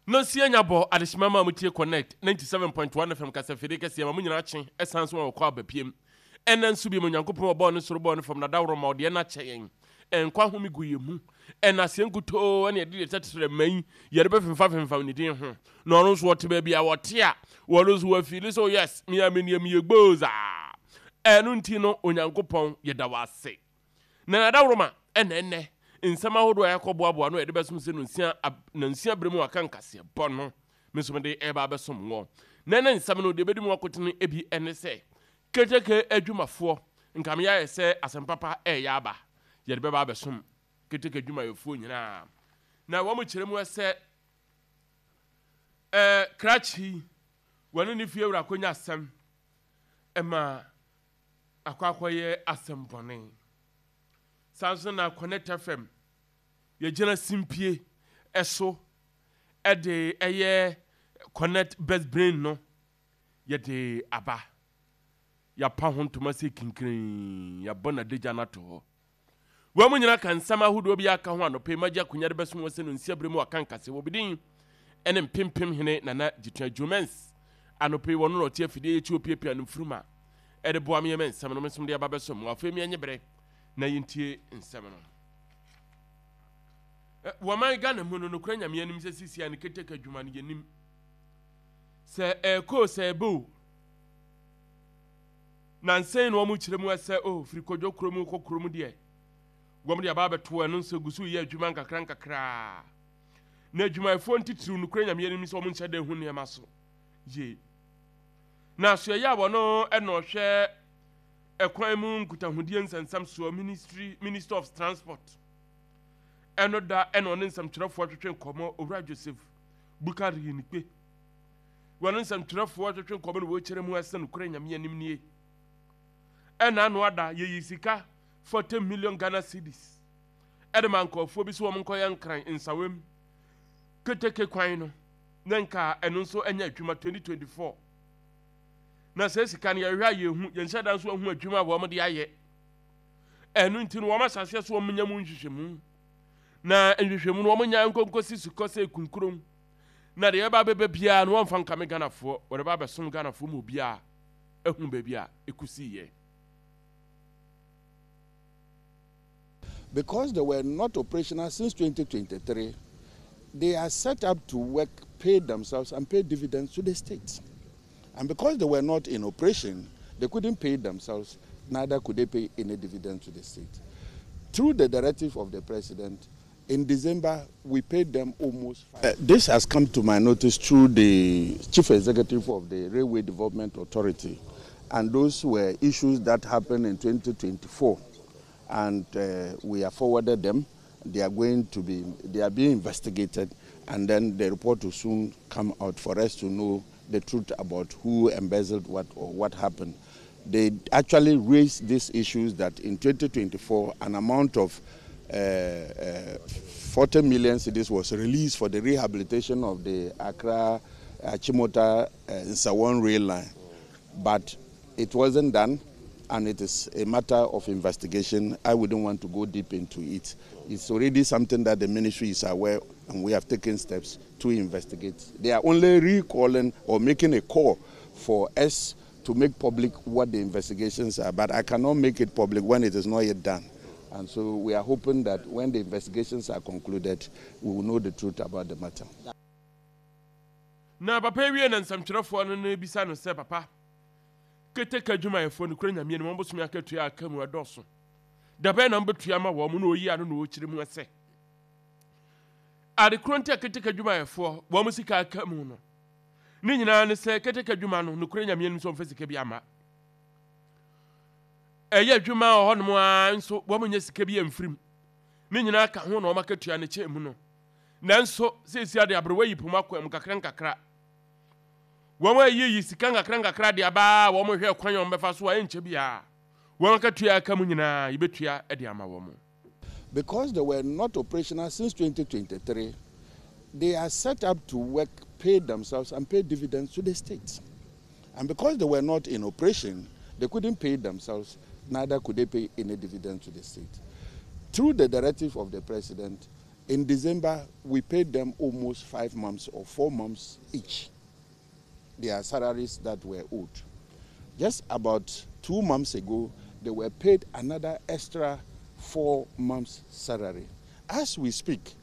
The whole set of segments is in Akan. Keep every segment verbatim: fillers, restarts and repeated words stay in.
Nonsia nya bɔ adehyema ma mutie Connect ninety-seven point one F M kasafide kɛseɛ ma mo nyinaa kye ɛsan so ma wɔkɔ abapiem. Ɛnɛ nso bi mu Onyankopɔn ɔbɔɔ ne soro bɔɔ ne fam nadaworo ma ɔdeɛ no akyɛ yɛn ɛnkwa home gu yɛn mu ɛna aseɛ nkutoo ɛne yɛde deɛ tɛtrɛ ma yi yɛde bɛfemfa femfam ne din ho na ɔno nso wɔte baabi a wɔte a wɔno nso wɔafili so. Yes, mea meneɛ meyɛ gbooza. Ɛno nti no, Onyankopɔn, yɛda wo ase na nadaworo ma ɛnɛ ɛnɛ nsɛm ahodoɔ a yɛakɔboaboa no yɛde bɛsom sɛ nonsia nansia berɛ mu aka nkaseɛ bɔ no me nso mede ɛba abɛsom wɔ na ɛnɛ nsɛm no deɛ bɛdi mu akotene ebi ɛne sɛ keteke adwumafoɔ nka meyɛ ayɛ sɛ asɛm papa ɛyɛ aba yɛde bɛba abɛsom keteke adwumayɛfoɔ nyinaa na wɔn kyerɛ mu sɛ ɛɛ krakye wɔne ne fie wura akɔnya asɛm ɛma akɔ akɔyɛ asɛm bɔne. Saa nso na Connect F M yɛgyina simpie ɛso ɛde ɛyɛ Connect Best Brain no yɛde aba yɛapa ho ntoma sɛ kinkirin yɛabɔ n'adagya no ato hɔ. Wɔn mu nyinaa ka nsɛm ahodoɔ bi aka ho. Anɔpɛ magye akonnwa de bɛsom wɔ sɛ no nsia berɛ mu aka nkase wɔ bidin ɛne mpempem hene Nana Gyitua Jomens. Anɔpɛ yi wɔno na ɔte afidie yɛkyi opiapia no mfuruma ɛde boa me yɛmɛ nsɛm no mesom de aba bɛsom wɔ. Afei miɛnye berɛ na yɛntie nsɛm no. Wɔman Ghana mu no, nokora Nyame anim sɛ sisia ne keteke adwuma no yɛnim sɛ ɛɛkoo sɛ ɛbɛ o nansɛn na wɔn kyerɛ mu sɛ o firi Kɔdwo kurom kɔ kurom deɛ wɔn de aba abɛto ɛno nso gu so yɛ adwuma nkakra nkakraa na adwumayɛfoɔ ntitiriw, nokora Nyame anim sɛ wɔn nhyɛ da hu nneɛma so yie. Na asoɛyɛ a wɔno ɛna ɔhwɛ ɛkwan mu nkutahodie nsɛnsɛm soɔ, ministry minister of Transport, ɛno da ɛna ɔne nsɛmtwerɛfoɔ twetwe nkɔmmɔ, Owura Joseph Bukari Nikpe, wɔne nsɛmtwerɛfoɔ twetwe nkɔmmɔ na wɔkyerɛ mu ɛsɛ nokora Nyame anim nie ɛna ano ada yɛyi sika forty million Ghana cedis ɛde ma nkɔɔfoɔ bi sɛ wɔn nkɔyɛ Nkran Nsawam keteke kwan no na nka ɛno nso ɛnyɛ adwuma twenty twenty-four. Na sɛ sika no yɛhwɛ a yɛhu yɛnhyɛ da nso ahu adwuma a wɔn de ayɛ. Ɛno nti no wɔn ahyɛseɛ so wɔn nya mu nhwehwɛmu na nhwehwɛmu no wɔn nya nkonkosi sukɔ sɛ kunkurom na deɛ ɛba bɛbɛ biara no wɔmfa nkame Ghanafoɔ, wɔde ba abɛsom Ghanafoɔ mu obiara ehu baabi a ekusi yɛ. Because they were not operational since twenty twenty-three, they are set up to work, pay themselves, and pay dividends to the state. And because they were not in operation, they couldn't pay themselves, neither could they pay any dividend to the state. Through the directive of the president, in December, we paid them almost. Uh, this has come to my notice through the chief executive of the Railway Development Authority. And those were issues that happened in twenty twenty-four. And uh, we have forwarded them. They are going to be, they are being investigated. And then the report will soon come out for us to know the truth about who embezzled what or what happened. They actually raised these issues that in twenty twenty-four, an amount of uh, uh, forty million cedis was released for the rehabilitation of the Accra Achimota uh, Nsawam rail line. But it wasn't done, and it is a matter of investigation. I wouldn't want to go deep into it. It's already something that the ministry is aware, and we have taken steps to investigate. They are only recalling or making a call for us to make public what the investigations are, but I cannot make it public when it is not yet done. And so we are hoping that when the investigations are concluded, we will know the truth about the matter. Na papa wie na nsɛmtwerɛfoɔ no no bisa no sɛ, papa, keteke adwumayɛfoɔ no kura Nyame anim wɔn bosome akatua aka mu ɛdɔɔso dabɛn na mbɛtua ma wɔn na oyi ano na ɔkyerɛ mu sɛ ade koro nti a keteke adwumayɛfoɔ wɔn sika aka mu no ne nyinaa ne sɛ keteke adwuma no nokura Nyame anim sɛ ɔmfa sika bi ama ɛyɛ adwuma wɔ hɔnom a nso wɔn nyɛ sika bi amfirim ne nyinaa ka ho na wɔn akatua ne kyɛn mu no. Nanso seesi ade aberewa yi poma kwan mu kakra nkakra wɔn ayiyi sika nkakra nkakra de aba a wɔn hwɛ kwan a wɔn bɛfa so a ɛnkyɛ biara wɔn akatua aka mu nyinaa yɛbɛtua de ama wɔn. Because they were not operational since twenty twenty-three, they are set up to work, pay themselves, and pay dividends to the state. And because they were not in operation, they couldn't pay themselves, neither could they pay any dividend to the state. Through the directive of the president, In December, we paid them almost five months or four months each, their salaries that were owed. Just about two months ago, they were paid another extra four months' salary. As we speak,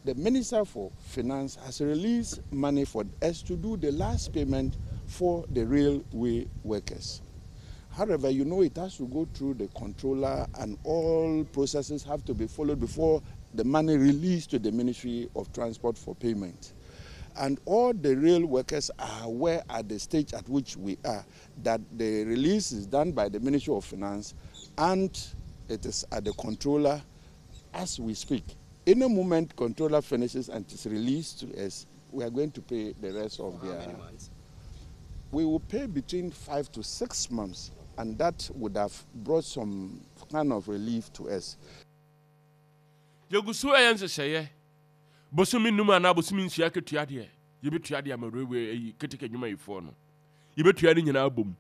the Minister for Finance has released money for us to do the last payment for the railway workers. However, you know it has to go through the controller and all processes have to be followed before the money released to the Ministry of Transport for payment. And all the rail workers are aware at the stage at which we are that the release is done by the Ministry of Finance and it is at the controller as we speak. Any moment controller finishes and is released to us, we are going to pay the rest of For their. how many months? We will pay between five to six months, and that would have brought some kind of relief to us. Yɛgu so ɛyɛ nhyehyɛeɛ bosome num anaa bosome nsia ketua deɛ yɛbɛtua deɛ ama railway ayi keteke adwumayɛfoɔ no yɛbɛtua no nyinaa bom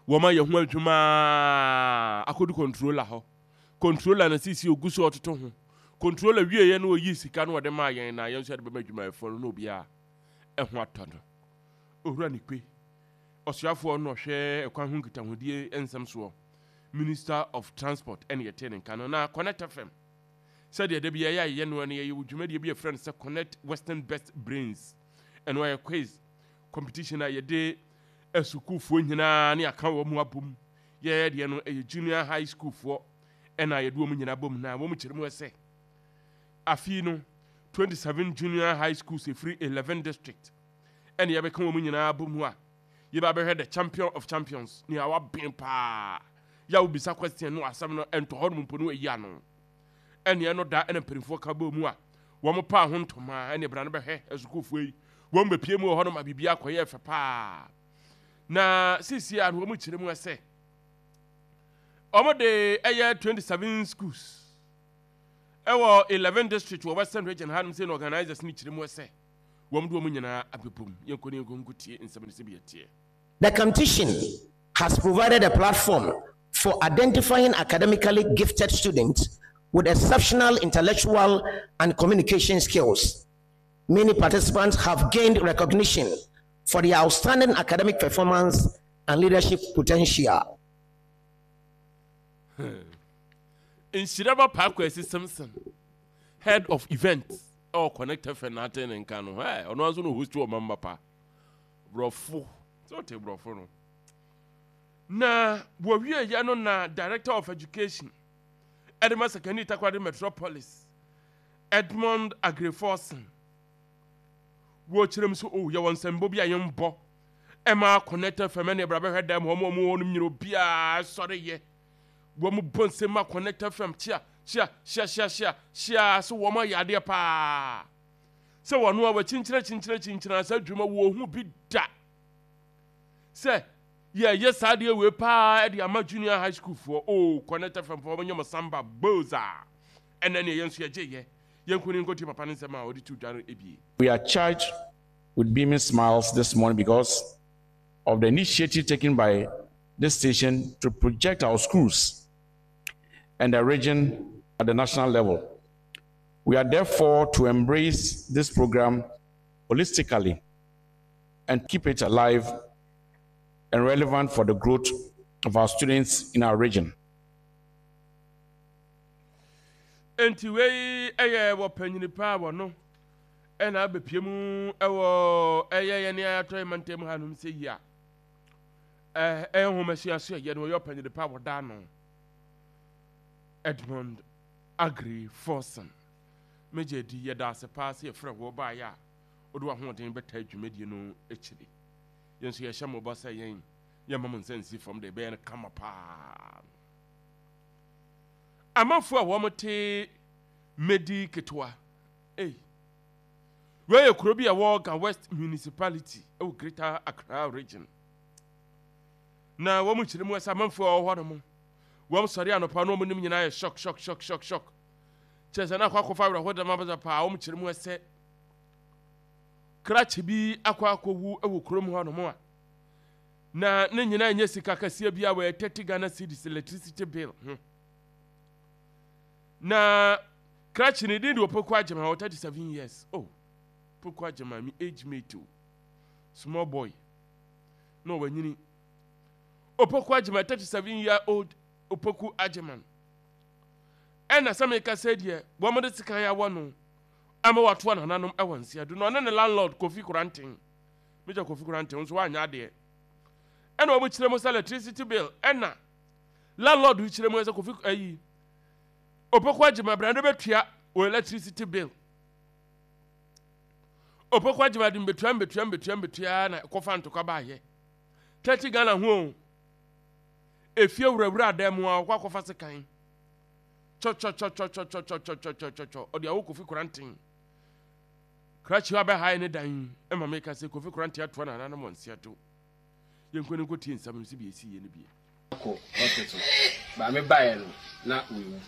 wɔma yɛ ho adwuma akɔdu controller hɔ controller na sisi ogu so ɔtoto ho controller wieɛ no ɔyii sika no ɔde maa yɛn na yɛn nso yɛde bɛma adwumayɛfoɔ no na obiara ɛho atɔ no owura ne kpe ɔsoafoɔ no ɔhwɛ ɛkwan ho nkitahodie nsɛm soɔ minister of transport ɛne yɛte ne nka no na connect fm sɛdeɛ da bi yɛyɛ a yɛyɛ no no yɛyɛ wɔ dwumadie bi yɛfrɛ no sɛ connect western best brains ɛno ɛyɛ quiz competition a yɛde asukuufoɔ nyinaa ne aka wɔ mu abom yɛyɛ deɛ no ɛyɛ junior high school foɔ ɛna yɛde wɔn nyinaa bom na wɔn kyerɛ mu sɛ afei no twenty-seven junior high schools ɛfiri eleven district ɛne yɛbɛka wɔn nyinaa bom mu a yɛbɛ abɛhwɛ the champion of champions nea waben paa yɛ a wobisa question no asɛm no ɛntɔ hɔ nom mpo no ayi ano ɛneɛ no da ɛna mpanimfoɔ ka bɔ mu a wɔn paa ho ntoma ɛne bra no bɛhwɛ asukuufoɔ yi wɔn bɛpie mu wɔ hɔ nom a biribi akɔyɛ fɛ paa na sisi a no wɔn kyerɛ mu sɛ wɔn de ɛyɛ twenty seven schools ɛwɔ eleven district wɔ western region hanom sɛ na organisers no kyerɛ mu sɛ wɔn de wɔn nyinaa abɛbom yɛnkɔ ne yɛnkɔ nkotie nsɛm no sɛ bi yɛteɛ. The competition has provided a platform for identifying academically gifted students with exceptional intellectual and communication skills. Many participants have gained recognition for their outstanding academic performance and leadership potential. Nhyira ba paako asi Simpson head of events ɛwɔ Connect FM na ate ne nka no ɛ ɔno nso no host wɔ mamba pa borɔfo sɛ ɔte borɔfo no na wɔwie yɛ no na director of education ɛde ma Sekondi Takoradi Metropolis Edmond Agreforson wɔkyerɛ mu sɛ o yɛwɔ nsɛmbɔ bi a yɛmbɔ ɛma Connect FM ɛne ɛbra bɛhwɛ dɛm hɔ ma ɔmo hɔ nom nyina obiaa sɔre yɛ wɔn mu bɔ nsɛm ma Connect FM kyia kyia hyia hyia hyia hyia so wɔn ayɛ adeɛ paa sɛ wɔn a wɔkyinkyina kyinkyina kyinkyina sɛ adwuma wɔ ho bi da sɛ yɛyɛ saa adeɛ wei paa ɛde ama junior high school foɔ o Connect FM foɔ wɔn nyɛ mo samba boza ɛnɛ ne yɛn nso yɛgye yɛ yɛn ko ne nkɔtie papa ne nsɛm a wɔde tu dwa no ebie. We are charged with beaming smiles this morning because of the initiative taken by this station to project our schools and the region at the national level. We are therefore to embrace this program holistically and keep it alive and relevant for the growth of our students in our region. Enti wei ɛyɛ wɔ panyini paa wɔ no ɛna abɛpie mu ɛwɔ ɛyɛ yɛ ne ayatɔ yɛ mantam hanom sɛ yi a ɛɛ ɛyɛ nhoma sua so ɛyɛ no ɔyɛ ɔpanyini paa wɔ daa no Edmond Agri Forson megye di yɛda ase paa sɛ yɛfrɛ wɔ baayɛ a wode w'ahoɔden bɛta dwumadie no akyiri yɛn nso yɛhyɛ mmɔbɔ sɛ yɛn yɛmma mo nsa nsi fam de ɛbɛyɛ no kama paa amanfoɔ a wɔn te medi ketewa ei wei yɛ kuro bi a ɛwɔ Ga West municipality ɛwɔ Greater Accra region na wɔn kyerɛ mu sɛ amanfoɔ a wɔwɔ hɔ nom wɔn sɔre anɔpa na wɔn nim nyinaa yɛ shock shock shock shock shock kyerɛ sɛ na akɔ akɔfa awerɛho dɛm abasa paa wɔn kyerɛ mu sɛ krakye bi akɔ akɔwu wɔ kurom hɔ nom a na ne nyinaa nyɛ sika kɛseɛ bi a wɔyɛ thirty Ghana cedis electricity bill ho na Krakye ne din de Opoku Agyema, wɔ thirty-seven years. Oh, Opoku Agyema, mi age mate o, small boy na ɔwanyini. Opoku Agyema, thirty-seven year old Opoku Agyema, ɛna sɛ meka sɛ deɛ wɔn de sekan awɔ no ama watoa nananom ɛwɔ nsia do na ɔne ne landlord Kofi Koranten, Major Kofi Koranten nso wanyɛ adeɛ. Ɛna wɔn kyerɛ mu sɛ electricity bill, ɛna landlord kyerɛ mu sɛ Kofi ayi Opoku Agyema brande bɛtua wɔ electricity bill. Opoku Agyema de mbetua mbetua mbetua mbetua na kɔfa ntokwa baayɛ thirty Ghana ho efie wurawura adan mu a ɔkɔ akɔfa sekan kyɔkyɔkyɔkyɔkyɔkyɔkyɔkyɔkyɔ ɔde awo Kofi Koranten. Krakye abɛhae ne dan ɛma meka sɛ Kofi Koranten atoa nananom wɔ nsia do. Yɛnkɔ ne nkɔtie nsɛm no sɛ bi ɛsi yɛ no bie. Kɔ hospital maame baeɛ no na wewu.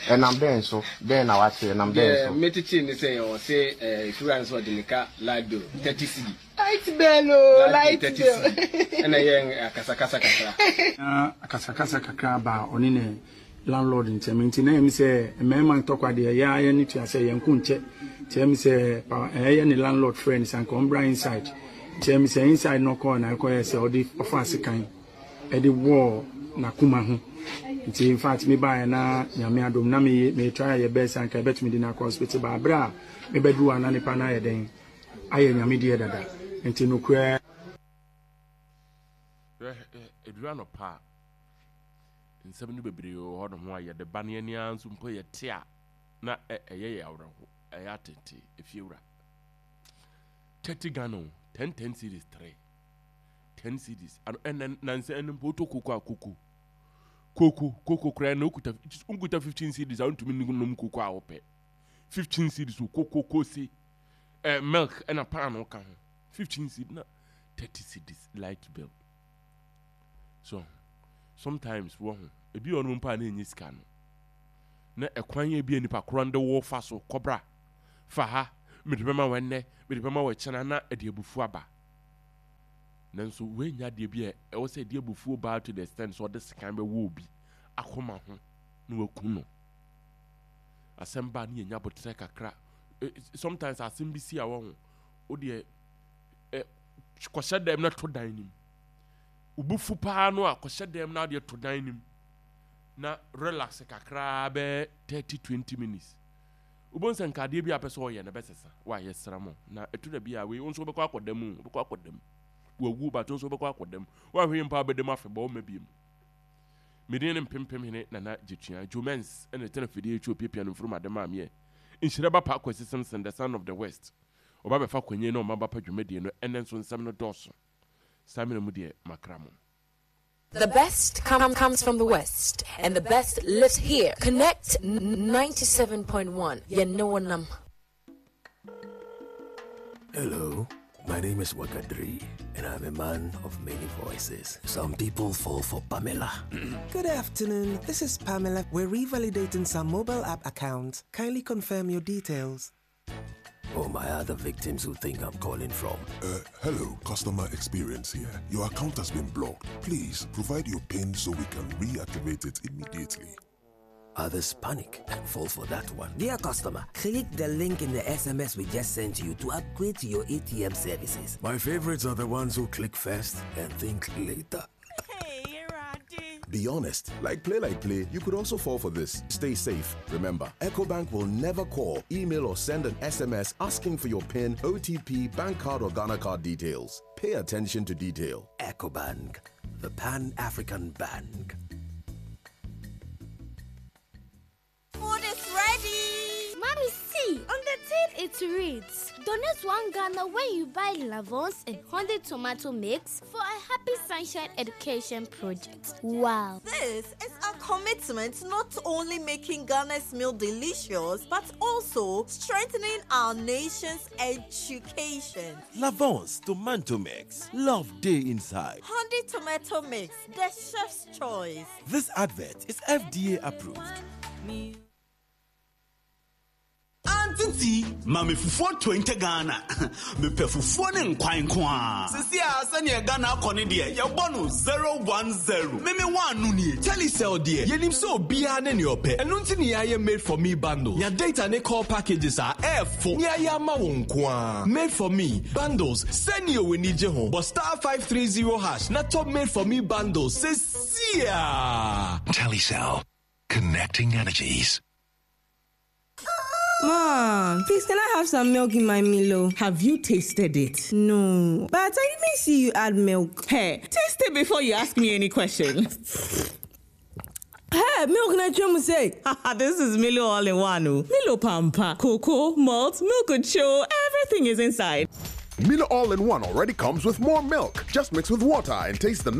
Ɛnam dɛn so? Dɛn na wate? Ɛnam dɛn so? Metete ne sɛ ɔse ɛfura nso ɔde ne ka light bill thirty cedi. Light bill o, light bill. Ɛna yɛ akasakasa kakra. Na akasakasa kakra ba ɔne ne landlord ntɛm nti na ɛmi sɛ mmarima ntɔkwa deɛ yɛ ayɛ ne tua sɛ yɛn ko nkyɛ nti ɛmi sɛ ɛyɛ ne landlord friend sanka ɔmbra inside nti ɛmi sɛ inside no kɔɔ na ɛkɔyɛ sɛ ɔde ɔfa asekan ɛde wɔɔ n'akoma ho nti in fact me baeɛ na Nyame adom na me me try yɛ best anka ɛbɛtumi de n'akɔ hospital ba abere a mebɛduru a na nipa no ayɛ dɛn ayɛ Nyame deɛ dada nti nokorɛ. Ɛduru anɔpa a nsɛm no bebree wɔ hɔ no ho a yɛde ba ne ani ara nso mpo yɛte a na ɛyɛ yɛ awerɛho, ɛyɛ atete. Efiewura thirty Ghana o, ten ten cedis, three ten cedis ano ɛnɛ nansa ɛno mpo wotɔ koko a koko koko koko koraa na okuta nkuta fifteen cedis a wontumi nom koko a wopɛ. Fifteen cedis o, koko kose ɛɛ milk ɛna paano ka ho fifteen cedis na thirty cedis light bill. So sometimes wɔ ho ebi wɔ no mpo a na enye sika no na ɛkwan yɛ bi a nipa korɔ de wɔ fa so kɔbra fa ha mede bɛma wɔ ɛnnɛ mede bɛma wɔ ɛkyɛn na ɛde abufuo aba. Nanso wenya adeɛ bi a ɛwɔ sɛ ɛde abufuo baa to the extent sɛ ɔde sekan bɛwɔ obi akoma ho na waku no. Asɛm baa ne yɛnya abotrɛ kakra. Sometimes asɛm bi si a wɔ ho o deɛ ɛ kɔhyɛ dɛm na to dan nim obufu paa no a kɔhyɛ dɛm na adeɛ to dan nim na relax kakra bɛɛ thirty twenty minutes. Wobɛhu sɛ nkadeɛ bi a pɛ sɛ ɔyɛ no bɛsesa wayɛ sra mo na ɛto da bi a wei nso wobɛkɔ akɔda mu, wobɛkɔ akɔda mu wawu bato nso wobɛkɔ akɔda mu woahwɛ mpa wobɛda mu afebɔ woma biem. Medin ne mpempem hene Nana Gyetua Jomens ɛna ɛtena fidie akyi opiapia no mfurum ade maameɛ Nhyira ba pa Kwasi Simpson, the son of the West. Ɔba bɛfa kwanyi na ɔma ba pa dwumadie no ɛnɛ nso nsɛm no dɔɔso saa mmerɛ mu deɛ makra mo. The best com comes from the West, and the best lives here. Connect ninety-seven point one. Yenoanam. Hello, my name is Wakadri, and I'm a man of many voices. Some people fall for Pamela. Good afternoon, this is Pamela. We're revalidating some mobile app accounts. Kindly confirm your details. Or my other victims who think I'm calling from. Uh, hello, customer experience here. Your account has been blocked. Please provide your PIN so we can reactivate it immediately. Others panic and fall for that one. Dear customer, click the link in the S M S we just sent you to upgrade to your A T M services. My favorites are the ones who click first and think later. Hey, Randy. Be honest. Like play, like play, you could also fall for this. Stay safe. Remember, EcoBank will never call, email, or send an S M S asking for your PIN, O T P, bank card, or Ghana card details. Pay attention to detail. EcoBank, the Pan-African bank. Food is ready! Mommy, see, on the tin it reads, donate one Ghana when you buy Lavons and hundred tomato mix for a Happy Sunshine Education project. Wow. This is a commitment to not only making Ghana's meal delicious, but also strengthening our nation's education. Lavons tomato mix. Love day inside. Hundred tomato mix, the chef's choice. This advert is F D A approved. Auntie, ma me fufuo twenty Ghana. Mepɛ fufuo ne nkwan nko a. Sisi a sɛnea Ghana akɔ ne deɛ, yɛbɔ no zero one zero. Meme one no nie. Telecel deɛ, yɛnim sɛ obiara ne nea ɔpɛ. Ɛno nti ne yɛayɛ made for me bundle. Nya data ne call packages a ɛɛfo. Ne yɛayɛ ama wo nko a. Made for me bundles sɛnea w'ani gye ho. Bɔ star five three zero hash na top made for me bundles sesia. Telecel, connecting energies. Mom, please can I have some milk in my Milo? Have you tasted it? No, but I didn't see you add milk. Hey, taste it before you ask me any questions. Hey, milk na chum say. This is Milo all in one. Oh. Milo Pampa, cocoa, malt, milk and show, everything is inside. Milo All in One already comes with more milk. Just mix with water and taste the